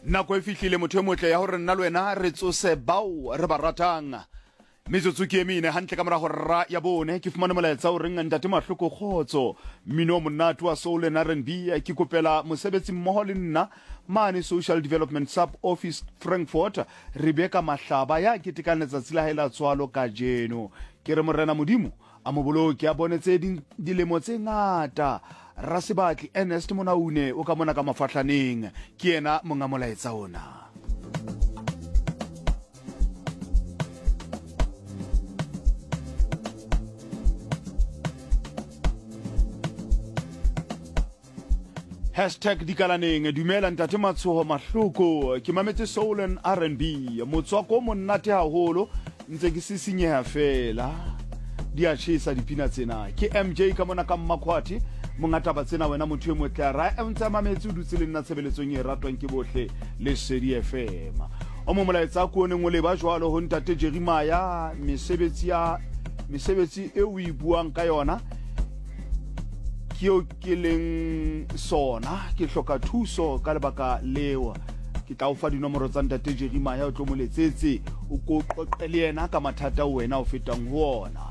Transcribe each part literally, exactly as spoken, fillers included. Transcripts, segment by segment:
Nako e fihlile motho e motle ya hore nna le wena re tsose bao re ba ratang. Metsotso ke e mene hantle ka morago ra ya bone ke fumane molaetsa o reng ntate Mahloko kgotso mmino o monate wa soul and R and B ke kopela mosebetsi mmoho le nna mane Social Development Sub Office Frankfurt Rebecca Mahlaba ya ketekang letsatsi la hae la tswalo kajeno. Ke re morena Modimo a mo boloke a bone tse ding dilemo tse ngata. Rasebatli Ernest Monaune o ka mona ka mafahlaneng ke yena monga molaetsa ona. Hashtag dikalaneng dumela ntate Matshoho Mahloko ke mametse soul and R and B motswako o monate haholo ntse ke sisinyeha fela di a tjhesa dipina tsena ke M J ka mona ka Mmakhwati monga taba tsena wena motho e motle a ra ntse a mametse o dutse le nna tshebeletsong e ratwang ke bohle Lesedi F M o mo molaetsa ko neng o leba jwalo ho ntate Jeremiah mesebetsi ya mesebetsi e o e buang ka yona ke eo ke leng sona ke hloka thuso ka lebaka leo ke tla o fa dinomoro tsa ntate Jeremiah o tlo mo letsetse o ko qoqe le yena ka mathata o wena o fetang ho ona.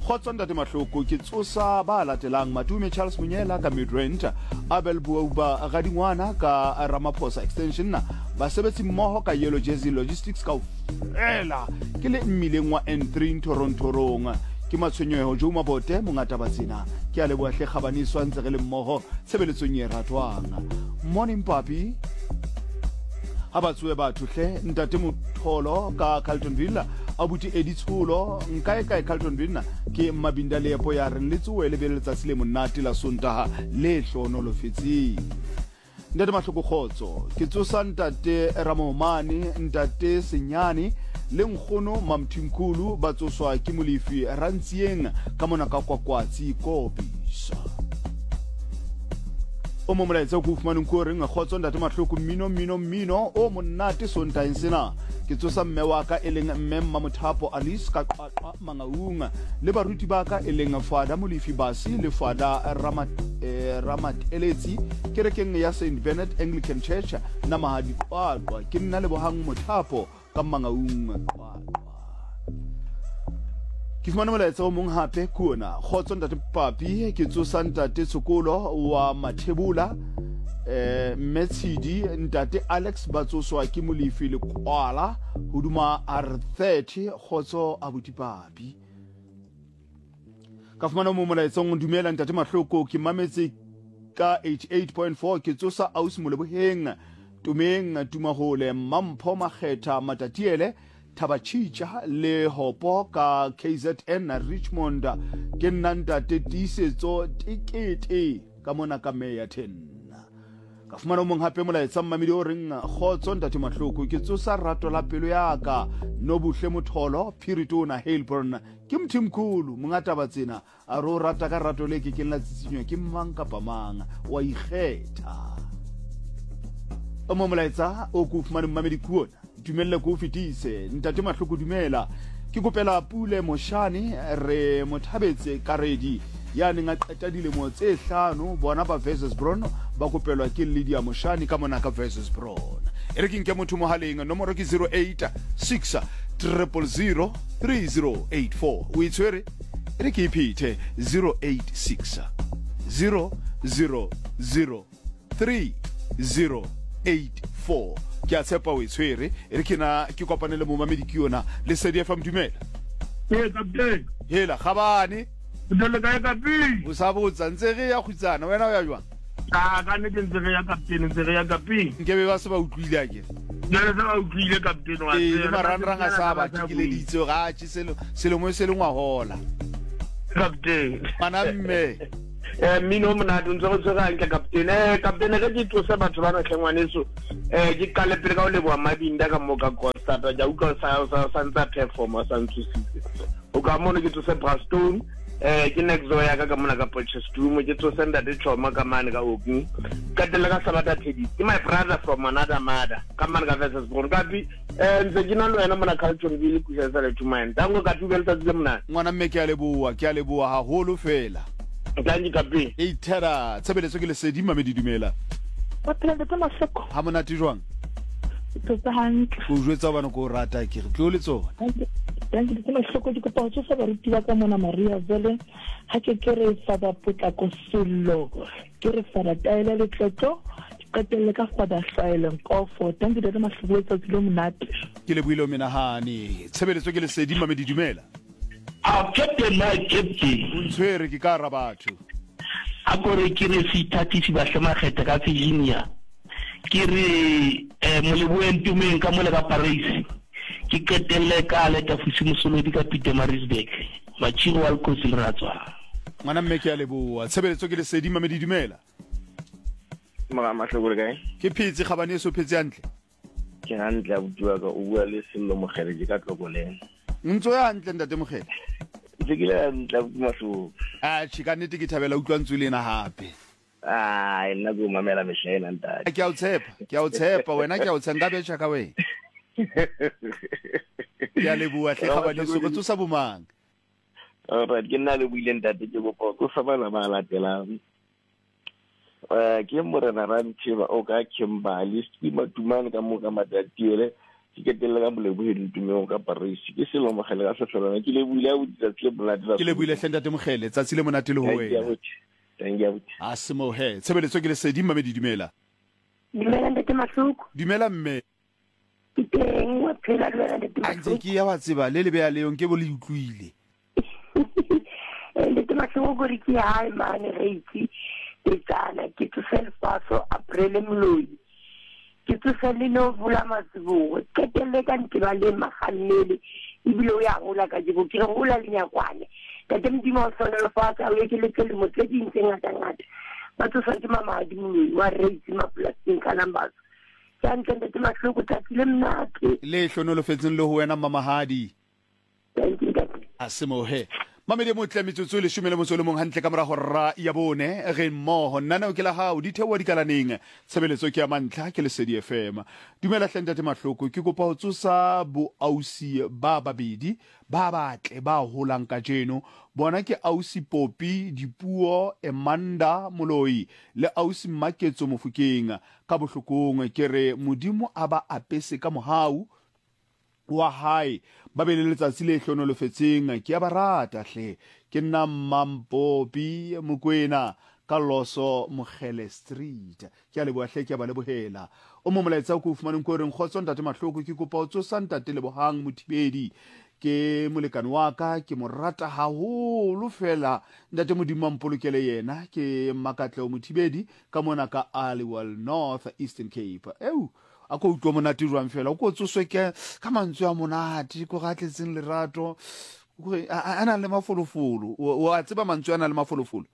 Kgotso ntate Mahloko ke tsosa ba latelang Matume Charles Monyela ka Midrand Abel Buauba Radingwana ka Ramaphosa Extension basebetsi mmoho ka Yellow Jersey Logistics kaofela ke le mmileng wa N three Ntorontorong ke matshwenyeho Joe Mabote mongata ba tsena ke a leboha hle kgabaniswa ntse re le mmoho tshebeletsong e ratwang. Morning papi ha ba tsoe batho hle ntate Motholo ka Carltonville abuti Eddie Tsholo nkae kae Carltonville ke Mabinda Leepo ya reng le tsoe le be le letsatsi le monate la Sontaha le hlohonolofetseng. Ntate Mahloko kgotso ke tsosa ntate Ramomane ntate Senyane le nkgono Mamthimkhulu ba tsoswa ke Molefi Rantsieng ka mona ka Kwakwatsi Kopisa. O mo molaetsa o ke o fumaneng ko reng kgotso ntate Mahloko mmino mmino mmino o monate Sontaheng sena ke tsosa mme wa ka e leng mme Mmamothapo Alice ka Qwaqwa Mangaung le baruti ba ka e leng Fada Molefi Basi le Fada Ramat, eh, Ramateletsi kerekeng ya Saint Bernard Anglican Church Namahadi Qwaqwa ke nna Lebohang Mothapo ka Mangaung Qwaqwa. Ke fumane molaetsa o mong hape ke ona kgotso ntate Papi ke tsosa ntate Tshokolo wa Mathebola eh mme Tshidi ntate Alex ba tsoswa ke Molefi Lekwala hoduma R thirty kgotso abuti Papi. Ka fumana mo molaetsong dumela ntate Mahloko ke mametse ka eighty-eight point four ke tsosa ausi Moleboheng Tumeng Tumahole Mampho Makgetha Matatiele Thabatšhitša le Hopo ka K Z N Richmond ke nna ntate Tiisetso Tekete ka mona ka Meya ten. Ka fumana o mong hape molaetsa mmamedi o reng kgotso ntate Mahloko ke tsosa rato la pelo ya ka Nobuhle Motholo Phiritona Heilbron ke Mthimkhulu monga taba tsena a re o rata ka rato le ke keng la tsitsinywa ke mang kapa mang wa ikgetha. O mo molaetsa o ko fumane mmamedi ke ona dumelle ko fetise ntate Mahloko dumela ke kopela Pule Moshane re mothabetse Karedi ya neng a qeta dilemo tse hlano bona ba versus Bron ba kopelwa ke Lydia Moshane ka mona ka versus Bron. E re ke nke motho mohaleng nomoro ke zero eight six triple zero three zero eight four o e tshwere e re ke iphethe zero eight six zero zero zero three zero eight four ke a tshepa o e tshwere e re ke na ke kopane le momamedi ke yona Lesedi F M dumela. Ee kaptene. Hela kgabane. Le kae kaptene? O sa botsa ntse re ya kgutsana wena o ya jwang? Ah ka nnete ntse re ya kaptene ntse re ya kaptene. Nkebe ba se ba utlwile a ke. Jwale se ba utlwile kaptene wa Ee le marangrang a sa ba tikeleditse ga a tše selo selemo se lengwa hola. Kaptene. Ngwana mme. Eh mmino o monate o ntse go tshwere hantle kaptene. Eh kaptene ge ke tlose batho ba natlhe ngwaneso eh ke qale pele ka ho leboha Mabinda ka mo ka Costa ja utlwa sa sa sa ntsa perform sa ntsositse. O ka mono ke tlose Brastone eh ke next door ya ka ka mona ka Potchefstroom ke tlose ntate Choma ka mane ka Oking. Qetelle ka Sabata Teddy ke my brother from another mother ka mane ka versus Bron kapi eh ntse ke na le wena mona Carltonville kusa sa le Tumane. Tango ka tubela tsatsi le monate. Ngwana mme ke a leboha ke a leboha haholo fela. Thank you kapi. E thera tshebeletso ke Lesedi mamedi dumela. Wa phela ntate Mahloko. Ha monate jwang? Ke hantle. Ko jwetsa bana ko rata ke re tlo le tsona. Thank you. Ke mahloko ke kopa ho tsosa baruti ba ka mona Maria Vele. Ha ke ke re fa ba potlako sello. Ke re fa taela le tlotlo. Qetelle ka fa ba hlaele nkofo. Thank you Ntate Mahloko, letsatsi le monate. Ke le buile menahane. Tshebeletso ke lesedi Mamedi, dumela. A captain, my captain. O ntshwere ke ka ra batho. A kore ke re seithatisi bahle makgetha ka Virginia. Ke re eh moleboeng tumeng ka mole ka Paris. Ke qetelle ka leta fusi mosolodi ka Pietermaritzburg. Machiro wa Lkosi le ratswa. Ngwana mme ke a leboha. Tshebeletso ke lesedi Mamedi, dumela. Mora Mahloko le kae? Ke phetse kgabane so phetse hantle. Ke hantle abuti wa ka, o bua le Sello Mokgele ke ka Tlokoleng. Ntso ya hantle ntate Mokgele. Ntse ke le hantle abuti Mahloko. Ah, che ka nnete ke thabela utlwa ntso le ena hape. Ah, nna ke o mamela mehla ena ntate. Ke a o tshepa, ke a o tshepa wena, ke a o tshepa nka betjha ka wena. Ke a leboha hle kgabane so go tsosa bomang. Alright, ke nna le buile ntate ke kopa go tsosa bana ba latelang. Eh ke morena Rantsheba o ka Kimberley, Stima Tumane ka mo ka Matatiele, ke ketelle ka Moleboheng Tumeng ka Paris. Ke Sello Mokgele ka Sehlolwana. Ke le buile a tsatsi le monate. Ke le buile hle ntate Mokgele, tsatsi le monate le ho wena. Thank you. A se mo he. Tshebeletso ke lesedi Mamedi, dumela. Dumela ntate Mahloko. Dumela mme. Ke teng wa phela le wena ntate Mahloko. Ntse ke ya wa tseba le le beya leong ke bo le utlwile. Ntate Mahloko gore ke hae mane re itse. Tsana ke tsose lefaso aprele moloi. Ke tsose le no bula matsibogo. Qetelle ka nteba le magannele ebile o ya gola ka jebo ke re gola le nyakwane. Tate Modimo o hlohonolofatsa o ekeletse lemo tse ding tse ngata-ngata. Ba tsoswa ke mamadi moloi wa reitse mapolasing ka Lambatso. Ke hantle ntate Mahloko, tsatsi le monate. Le hlohonolofetseng le ho wena mamahadi. Thank you ntate. A se mo he. Mamedi motle metsotso e leshome le motso le mong hantle ka mora hora ya bone re mmoho nnaneo ke la hao di theoha dikalaneng tshebeletso ke ya mantlha ke Lesedi F M. Dumela hle ntate Mahloko, ke kopa ho tsosa boausi ba babedi ba batle ba holang kajeno. Bona ke ausi Popi Dipuo Emanda Moloi le ausi Maketso Mofokeng. Ka bohlokong ke re Modimo a ba apese ka mohau wa hae, ba be le letsatsi le hlohonolofetseng. Ke a ba rata hle. Ke nna Mampopi Mokwena ka Loso Mokgele Street. Ke a leboha hle, ke a ba lebohela. O mo molaetsa o ko fumaneng ko reng kgotso ntate Mahloko, ke kopa ho tsosa ntate Lebohang Mothibedi. Ke molekane wa ka, ke mo rata haholo fela. Ntate Modimo a mpolokele yena. Ke Makatleo Mothibedi ka mona ka Aliwal North Eastern Cape. Eo a ko utlwa monate jwang fela, o ko tsoswe ke ka mantswe a monate ko ga tletseng lerato, a nang le mafolofolo. O a tseba mantswe a nang le mafolofolo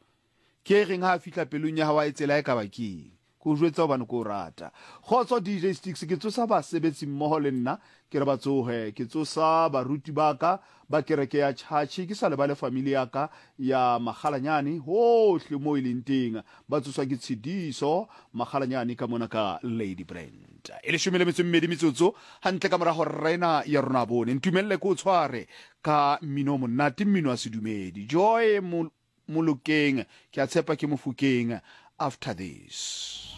ke reng ha a fihla pelong ya hao a e tsela e ka ba keng. Ko jwetsa hobane ko rata. Kgotso D J Sticks, ke tsosa basebetsi mmoho le nna, ke re ba tsohe. Ke tsosa baruti ba ka ba kereke ya Chachi, ke sa lebale family ya ka ya Magalanyane hohle mo e leng teng. Ba tsoswa ke Tshidiso Magalanyane ka mona ka Lady Brand. E leshome le metso e mmedi metsotso hantle ka mora hora ena ya rona bone. Ntumelle ko tshware ka mmino monate, mmino wa sedumedi. Joy Molokeng, ke a tshepa ke Mofokeng after this.